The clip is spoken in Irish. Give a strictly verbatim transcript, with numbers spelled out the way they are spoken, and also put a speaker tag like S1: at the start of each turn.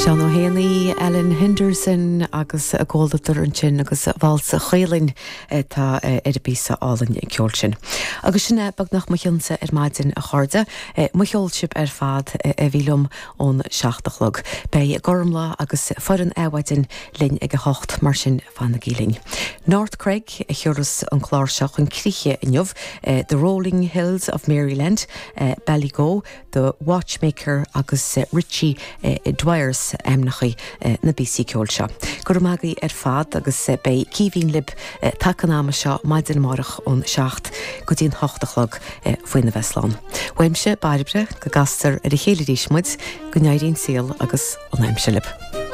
S1: Seán Ó hÉanaí, Ellen Henderson agus a gcomhluadar ansin agus Válsa Chaolainn atá ar an bpíosa álainn ceoil sin. Agus sin é beagnach mo chionsa ar maidin a chairde, mo cheol sibh ar fad a bhí liom ón seacht a chlog. Beidh Gormlaith agus foireann Adhmhaidin linn ag a hocht mar sin fanaigí linn. North Craig a chuireas an clár seo chun críche inniu, The Rolling Hills of Maryland, Ballygo, The Watchmaker agus Richie Dwyers ainmneacha na bpíosaí ceoil seo. Go raibh maith agaibh ar fad agus beidh Caoimhín libh taca an ama seo maidin amárach ón seacht go dtí an hocht a chlog faoina bheith slán. Uaimse Bairbre go gcastar ar a chéile arís muid go n-éirí an saol agus an aimsir libh.